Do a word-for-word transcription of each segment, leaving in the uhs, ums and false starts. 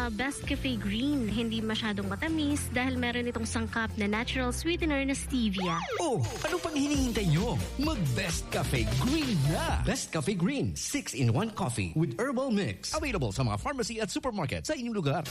Ah, Best Cafe Green, hindi masyadong matamis dahil meron itong sangkap na natural sweetener na stevia. Oh, ano pang hinihintay nyo? Mag Best Cafe Green na! Best Cafe Green, six-in-one coffee with herbal mix. Available sa mga pharmacy at supermarket sa inyong lugar.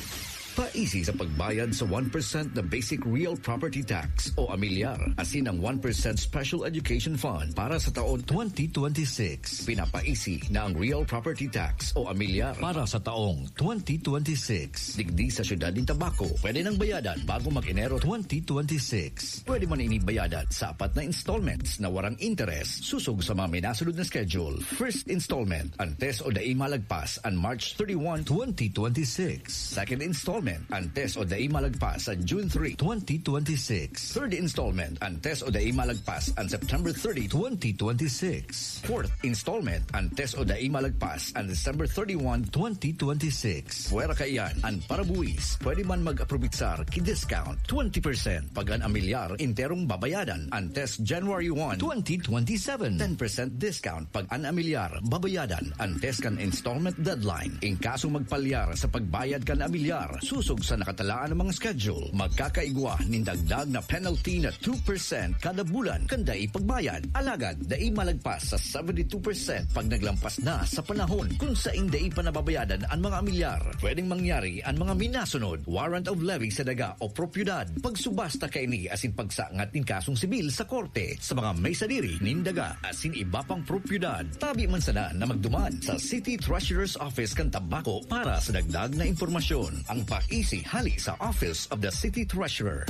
Paisi sa pagbayad sa one percent na Basic Real Property Tax o amilyar, asin ang one percent Special Education Fund para sa taon twenty twenty-six. Pinapaisi na ang Real Property Tax o amilyar para sa taong twenty twenty-six. Digdi sa siyudad nin Tabaco, pwede nang bayadan bago mag-Enero twenty twenty-six. Pwede man ini bayadan sa apat na installments na warang interes, susog sa mga minasunod na schedule. First installment, antes o dai malagpas an March thirty-one, twenty twenty-six. Second installment, antes o dai malagpas an June three, twenty twenty-six. Third installment, antes o dai malagpas an September thirty, twenty twenty-six. Fourth installment, antes o dai malagpas an December thirty-one, twenty twenty-six. Pwera kaiyan, an parabuwis, pwede man mag-aprobitsar ki discount twenty percent pag an amilyar enterong babayadan antes January one, twenty twenty-seven. Ten percent discount pag an amilyar babayadan antes kan installment deadline. In kaso magpalyar sa pagbayad kan amilyar, susog sa nakatalaan na mga schedule, magkakaigwa nin dagdag na penalty na two percent kada bulan kan dai pagbayad. Alagad, dai malagpas sa seventy-two percent pag naglampas na sa panahon kun sain dai pa nababayadan an mga amilyar. Pwedeng mangyari an mga minasunod: warrant of levy sa daga o propiedad, pagsubasta kaini asin pagsangat nin kasong sibil sa korte sa mga may sadiri nin daga asin iba pang propiedad. Tabi man sana na magduman sa City Treasurer's Office kan Tabaco para sa dagdag na impormasyon. Ang paisi hali sa Office of the City Treasurer.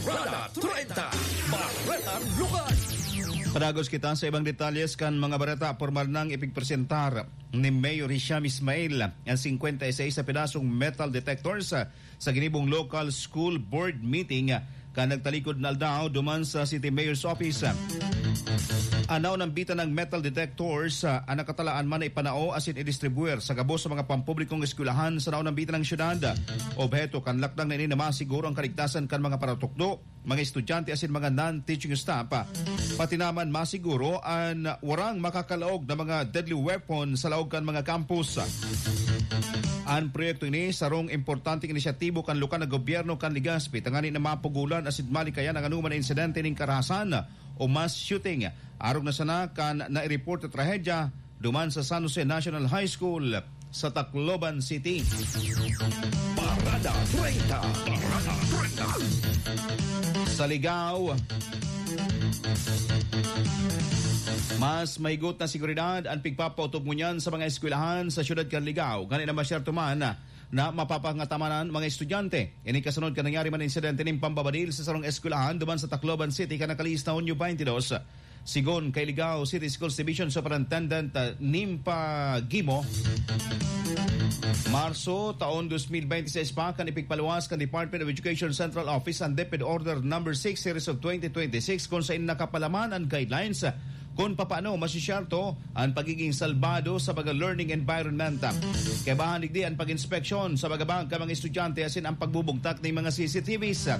Parada treinta, Baretang Lugar. Padagos kita sa ibang detalles kan mga bareta. Pormal nang ipigpresentar ni Mayor Hisham Ismail ang singkwenta y seis na pedasong metal detectors sa ginibong local school board meeting kan nagtalikod na aldaw duman sa City Mayor's Office. An naunambitan nang metal detectors, ah, an nakatalaan man na ipanao asin idistribuir sa gabos sa mga pampublikong eskwelahan sa naunambitan nang syudad. Obheto kan lakdang na ini na masiguro ang kaligtasan kan mga paratukdo, mga estudyante asin mga non-teaching staff. Pati naman masiguro an warang makakalaog na mga deadly weapon sa laog kan mga campus. An proyekto ini sarong importanteng inisyatibo kan lokal na gobyerno kan Legazpi tanganing na mapugolan asin malikayan ang anoman na insidente nin karahasan o mass shooting. Arog na sana kan naireport na trahedya duman sa San Jose National High School sa Tacloban City. Parada treinta. Parada treinta. Sa Ligao, mas mahigot na seguridad an pigpapaotob ngunyan sa mga eskwelahan sa siyudad kan Ligao. Ngani na masyerto man na mapapangataman an mga estudyante. Ini kasunod kan nangyari man insidente nin pambabadil sa sarong eskwelahan duman sa Tacloban City kan nakalihis na Hunyo twenty-two. Sigon kay Ligao City Schools Division Superintendent, ah, Nimpa Gimo, Marso taon dos mil bente seis pa kan ipigpaluwas kan Department of Education Central Office an DepEd Order Number Six Series of twenty twenty-six, kun sain nakapalaman an guidelines kun papaano masisyerto an pagiging salbado sa mga learning environment. Kaibahan digdi an pag-inspeksyon sa mga bag kan mga estudyante asin ang pagbubugtak nin mga C C T Vs.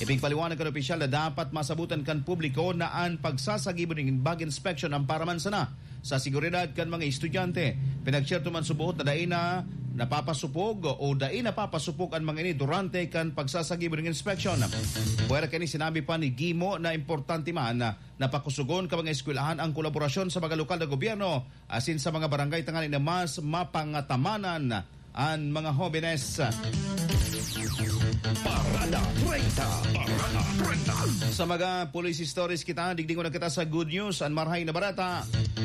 Ipigpaliwanag kan opisyal na dapat masabutan kan publiko na an pagsasagibo nin bag inspection an para man sana sa seguridad kan mga estudyante. Pinagsiyerto man subot na dai na napapasupog o dai napapasupog an mga ini durante kan pagsasagibo nin inspeksyon. Pwera kaini, sinabi pa ni Gimo na importante man na pakusogon kan mga eskwelahan ang kolaborasyon sa mga lokal na gobyerno asin sa mga barangay tanganing na mas mapangatamanan an mga hobenes. Parada treinta. Parada treinta. Sa mga police stories kita, digdi ngunyan kita sa good news, an marahay na bareta.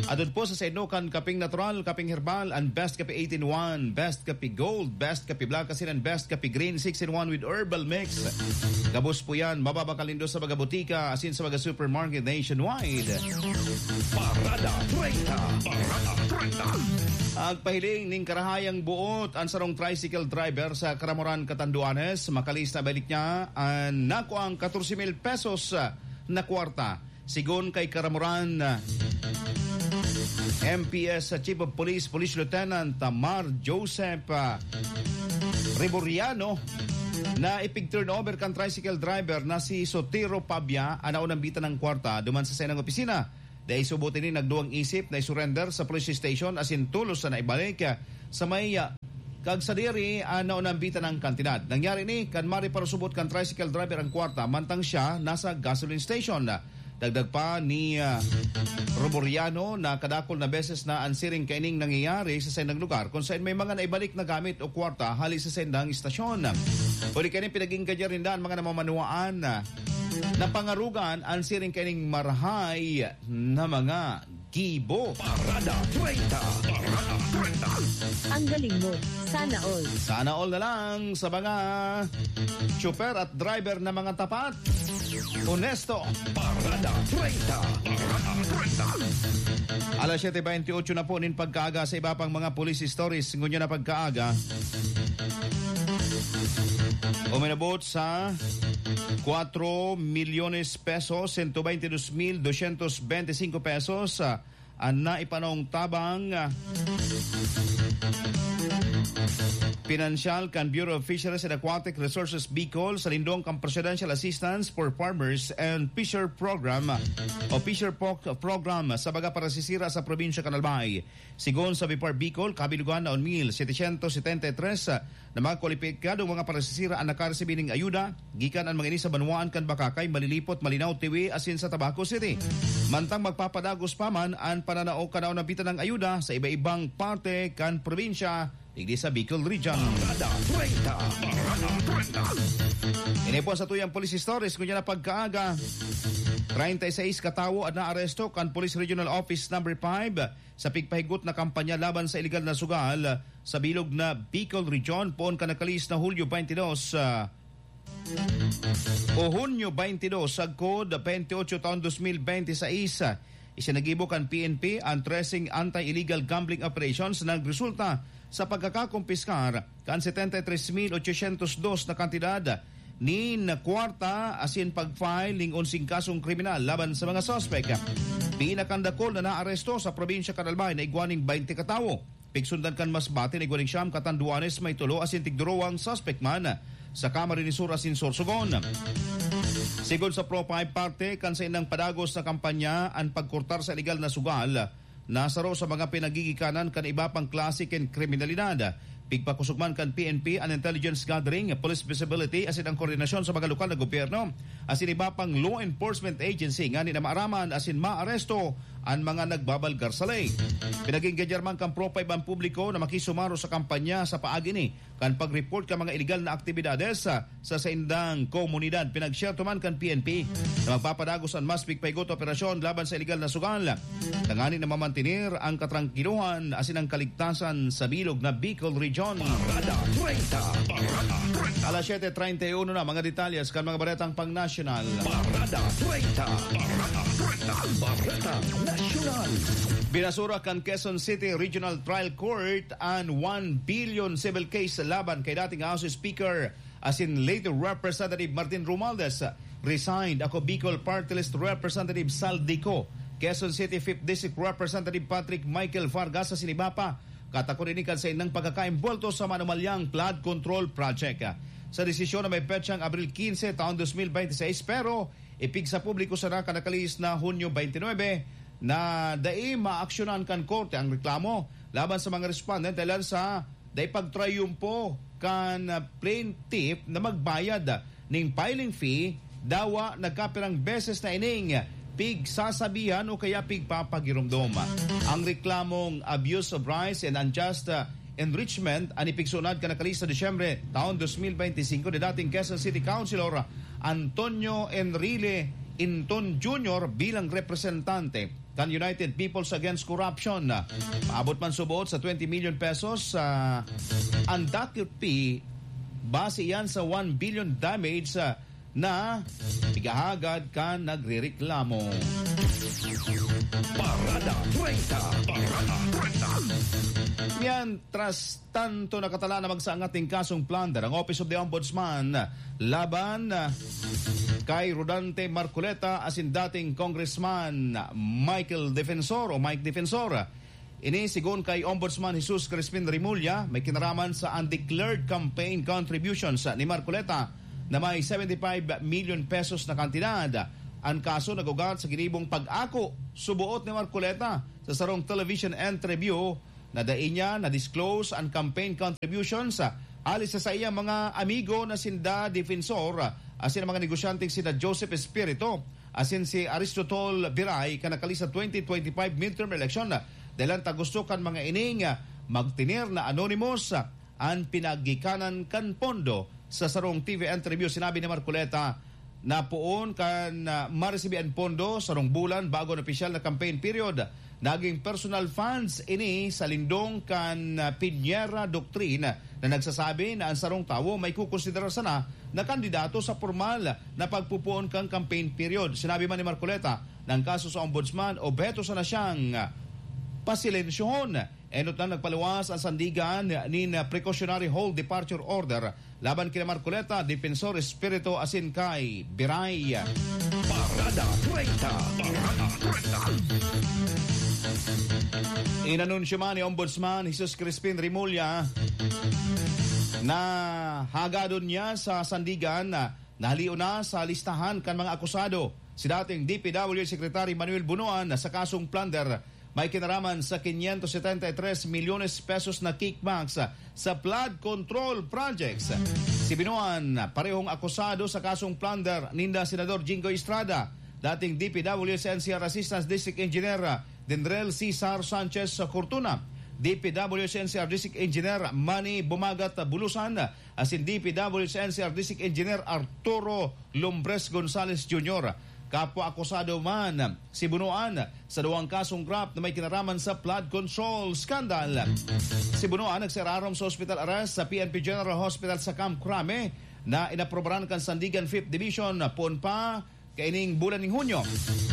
Atod po sa saindokan, kaping natural, kaping herbal, an best kape eight-in-one, best kape gold, best kape black, asin an best kape green six-in-one with herbal mix. Gabos po yan, mababakal nindo sa mga botika asin sa mga supermarket nationwide. Parada treinta. Parada treinta. Agpahiling nin karahayang buot an sarong tricycle driver sa Caramoran, Catanduanes. Makalihis na balik niya an nakuang katorse mil pesos na kwarta. Sigon kay Caramoran, ah, M P S Chief of Police, Police Lieutenant, ah, Mar Joseph, ah, Reboriano, na ipig-turnover kan tricycle driver na si Sotero Pabia an naunambitan nin kwarta duman sa saiyang opisina. Dai subot ini nagduwang isip na isurrender sa police station asin tolos na naibalik, ah, sa may, ah, Kag sadiri, ah, naunambitan ang kantidad. Nangyari ni kan mareparasubot kan tricycle driver ang kwarta, mantang siya nasa gasoline station. Dagdag pa ni, ah, Roboriano na kadakol na beses na ang siring kaining nangyayari sa saindang lugar, kung saan may mga naibalik na gamit o kwarta hali sa saindang istasyon. Huli kaining pinag-ingganyar ninda ang mga namamanuaan na pangarugan ang siring kaining marahay na mga gibo. Parada treinta. Parada treinta. Ang galing mo. Sana all. Sana all na lang sa mga tsuper at driver na mga tapat. Honesto. Parada treinta. Parada treinta. Alas siyete bentiocho na po nin pagkaaga. Sa iba pang mga police stories, ngunyan na pagkaaga, uminabot sa cuatro milyones pesos, ciento veintidós mil doscientos veinticinco pesos, ah, ang naipanong tabang, ah, pinansyal kan Bureau of Fisheries and Aquatic Resources Bicol sa lindong kan Presidential Assistance for Farmers and Fisher Program, ah, o Fisher Pro-, Program sa mga parasisira sa probinsya kan Albay. Sigon sa BFAR Bicol, kabilugan na un mil setecientos setenta y tres, ah, na mga kwalipikadong mga parasisira ang nakaresibi ning ayuda gikan an mga ini sa banwaan kan Bacacay, Malilipot, Malinao, Tiwi, asin sa Tabaco City. Mantang magpapadagos pa man an pananao kan naunambitan ng ayuda sa iba-ibang parte kan probinsya, digdi sa Bicol Region. Parada treinta. Parada treinta. Ini po sa tuyang police stories, ngunyan na pagkaaga, treinta y seis katawo an naaresto kan Police Regional Office Number Five sa pigpahigot na kampanya laban sa iligal na sugal sa bilog na Bicol Region, poon kan nakalihis na Hulyo twenty-two, ah, o Hunyo twenty-two, sagkod twenty-eight taon twenty twenty-six. Isinagibo kan P N P ang tracing anti-illegal gambling operations na nagresulta sa pagkakakumpiskar kan setenta y tres mil ochocientos dos na kantidad nin kwarta asin pag-file ning onseng kasong kriminal laban sa mga suspek. Pinakandakol na naaresto sa probinsya kan Albay na igwa ning baynte katawo. Pigsundan kan mas bati na igwa ning siyam katanduanes, may tulo asin tigduruwang suspek man sa Camarines Sur asin Sorsogon. Sigon sa Pro Five, parte kan saindang padagos na kampanya an pagkurtar sa iligal na sugal na saro sa mga pinagigikanan kan iba pang klase kan kriminalidad. Pigpakosog man kan P N P an intelligence gathering, police visibility asin ang koordinasyon sa mga lokal na gobyerno asin iba pang law enforcement agency nganing maaraman asin maaresto an mga nagbabalgar sa ley. Pinag-ingganyar man kan Pro Five ang publiko na makisumaro sa kampanya sa paagi ni kan pag-report kan mga iligal na aktibidades sa, sa saindang komunidad. Pinagsyerto man kan P N P na magpapadagos an mas pigpahigot operasyon laban sa iligal na sugal, tanganing na mamantener ang katrangkilohan asin ang kaligtasan sa bilog na Bicol Region. Parada treinta. Parada treinta. Alas siyete treinta y uno na, mga detalyes kan mga baretang pangnasyonal. Parada treinta. Parada treinta. Bareta Nasyonal. Binasura kan Quezon City Regional Trial Court an one billion civil case laban kay dating House Speaker asin late Representative Martin Romualdez. Resigned ako Bicol Party List Representative Saldico, Quezon City Fifth District Representative Patrick Michael Vargas asin iba pa, katakod ini kan saindang pagkakaimbwelto sa manumalyang flood control project. Sa desisyon na may petsang Abril quince, taon dos mil bente seis, pero ipigsa publiko sana kan nakalihis na Hunyo twenty-nine na dai maaksyonan kan korte ang reklamo laban sa mga respondent dahilan sa dai pagtrayumpo kan plaintiff na magbayad ning filing fee, dawa nagkapirang beses na ining pigsasabihan o kaya pigpapagiromdom. Ang reklamong abuse of rights and unjust, uh, enrichment an ipigsunad kan nakalihis na Disyembre taon dos mil bente singko ni dating Quezon City Councilor Antonio Enrile Inton Junior bilang representante kan United Peoples Against Corruption. Paabot man subot sa twenty million pesos, ah, ang docket fee, base iyan sa one billion damage, ah, na igahagad kan nagrereklamo. Parada treinta. Parada treinta. Yan, tras tanto nakatala na magsaangat nin kasong plunder ang Office of the Ombudsman laban, ah, kay Rodante Marcoleta asin dating Congressman Michael Defensor o Mike Defensor. Ini sigon kay Ombudsman Jesus Crispin Remulla, may kinaraman sa undeclared campaign contributions ni Marcoleta na may seventy-five million pesos na kantidad. An kaso nag-ugat sa ginibong pag-ako suboot ni Marcoleta sa sarong television interview na dai niya na-disclose an campaign contributions, ah, hali sa saiyang mga amigo na sinda Defensor, ah, asin ang mga negosyanteng sina Joseph Espiritu asin si Aristotol Biray kan nakalista twenty twenty-five midterm election. Dahelan ta gusto kan mga ining, ah, magtener na anonymous, ah, an pinagikanan kan pondo. Sa sarong T V interview, sinabi ni Marcoleta na poon kan, ah, maresibi an pondo sarong bulan bago an opisyal na campaign period. Naging personal funds ini sa lindong kan, ah, Piñera Doctrine na nagsasabi na ang sarong tawo may kukonsiderar sana na kandidato sa pormal na pagpupoon kan campaign period. Sinabi man ni Marcoleta na ang kaso sa ombudsman, obheto sana siyang, ah, pasilensyuhon. Enot na nagpaluwas ang sandigan nin precautionary hold departure order laban kina Marcoleta, Defensor Espiritu asin kay Biray. Parada treinta. Parada treinta. Inanunsyo man ni Ombudsman Jesus Crispin Remulla na hagadon niya sa sandigan na nahalion na sa listahan kan mga akusado si dating D P W Secretary Manuel Bunuan sa kasong plunder may kinaraman sa quinientos setenta y tres milyones pesos na kickbacks sa flood control projects. Si Binuan, parehong akusado sa kasong plunder ninda Senador Jinggoy Estrada, dating D P W S N C R Assistant District Engineer Dendrel Cesar Sanchez Cortuna, D P W S N C R District Engineer Manny Bumagat Bulusan, asin D P W S N C R District Engineer Arturo Lumbres Gonzalez Junior. Kapwa akusado man si Bunuan sa duwang kasong graft na may kinaraman sa flood control scandal. Si Bunuan nagsararom sa hospital arrest sa P N P General Hospital sa Camp Crame na inaprobaran kan Sandigan Fifth Division poon pa kaining bulan ning Hunyo.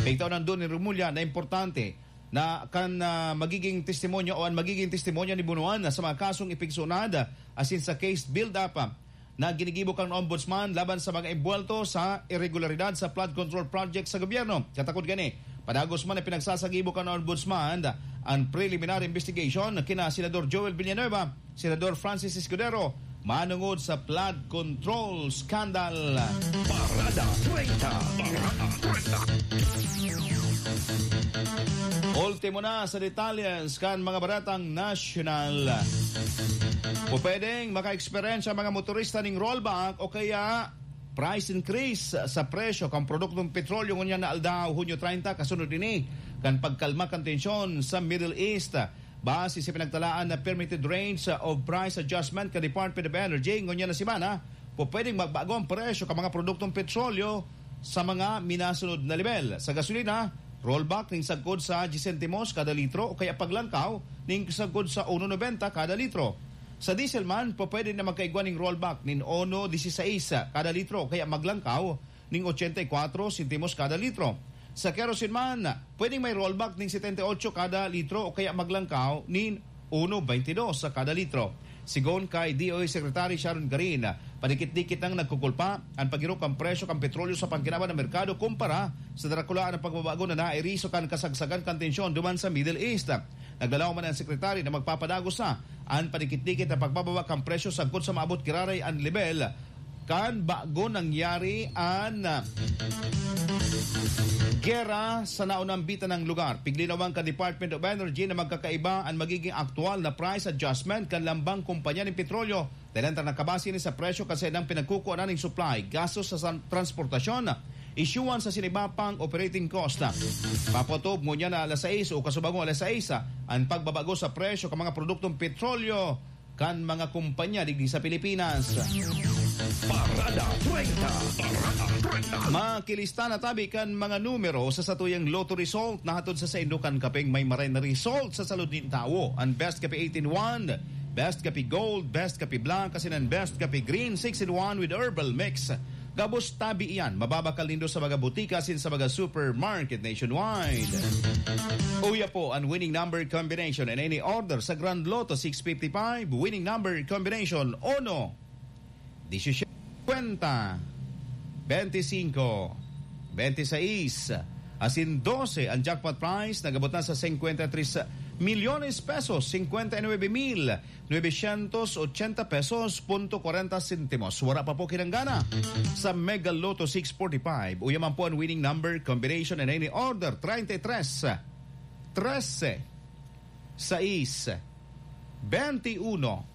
Pigtaw nandun ni Remulla na importante na kan, ah, magiging testimonyo o ang magiging testimonyo ni Bunuan sa mga kasong ipigsunad asin sa case build-up, ah, na ginigibo kan Ombudsman laban sa mga imbuwelto sa iregularidad sa flood control project sa gobyerno. Katakod gani, padagos man na pinagsasagibo kan Ombudsman ang preliminary investigation kina Senador Joel Villanueva, Senador Francis Escudero, manungod sa flood control scandal. Parada treinta. Parada treinta. Ultimo na sa detalles kan mga baretang nasyonal. Pupwedeng maka-eksperyensya ang mga motorista ning rollback o kaya price increase sa presyo kan produktong petrolyo ngunyan na aldaw, Hunyo treinta, kasunod ini kan pagkalma kan tensyon sa Middle East. Base sa pinagtalaan na permitted range of price adjustment kan Department of Energy ngunyan na semana, pupwedeng magbago ang presyo kan mga produktong petrolyo sa mga minasunod na lebel. Sa gasolina, rollback ning sagkod sa diyes sentimos kada litro o kaya paglangkaw ning sagkod sa uno nobenta kada litro. Sa diesel man, pupwede na magkaigwa ning rollback nin uno disisais kada litro o kaya maglangkaw ning ochenta y kuatro sentimos kada litro. Sa kerosene man, pwedeng may rollback ning setenta y ocho kada litro o kaya maglangkaw nin uno baintidos sa kada litro. Sigon kay D O E Secretary Sharon Garin, padikit-dikit nang nagkukulpa an paghirok kan presyo kan petrolyo sa pangkinaban na merkado kumpara sa darakulaan na pagbabago na nairiso kan kasagsagan kan tensyon duman sa Middle East. Naglalaom man ang sekretary na magpapadagos sa an padikit-dikit na pagbababa kan presyo sagkod sa maabot giraray an lebel kan bago nangyari an, ah, gera sa naunang bitanang lugar. Piglinawan kan Department of Energy na magkakaiba an magiging aktual na price adjustment kan lambang kumpanya nin petrolyo. Dahil ang nakabase ni sa presyo kan saindang pinagkukuanan nin supply, gastos sa san-, transportasyon, isyuan sa sinibapang operating cost. Papatob ngunyan na alas sais o kasubang alas sais, ah, ang pagbabago sa presyo kan mga produktong petrolyo kan mga kumpanya digdi sa Pilipinas. Parada treinta. Parada treinta. Makilista na tabi kan mga numero sa satuyang Lotto result na hatod sa saindo kan kapeng may maray na result sa salud nin tawo. An Best Kape eight in one, Best Kape Gold, Best Kape Black, asin an Best Kape Green six in one with Herbal Mix. Gabos tabi iyan, mababakal nindo sa mga butika asin sa mga supermarket nationwide. Uya po an winning number combination in any order sa Grand Lotto six fifty-five, winning number combination uno, disisiete, singkwenta, bente singko, bente sais, asin dose. Ang jackpot prize nagabot na sa singkwenta y tres milyones pesos, singkwenta y nuebe mil novecientos ochenta pesos punto kwarenta sentimos. Wara pa po kinanggana sa Mega Lotto six forty-five. Uya man po an winning number combination in any order, treinta y tres, trese, sais, Bente uno.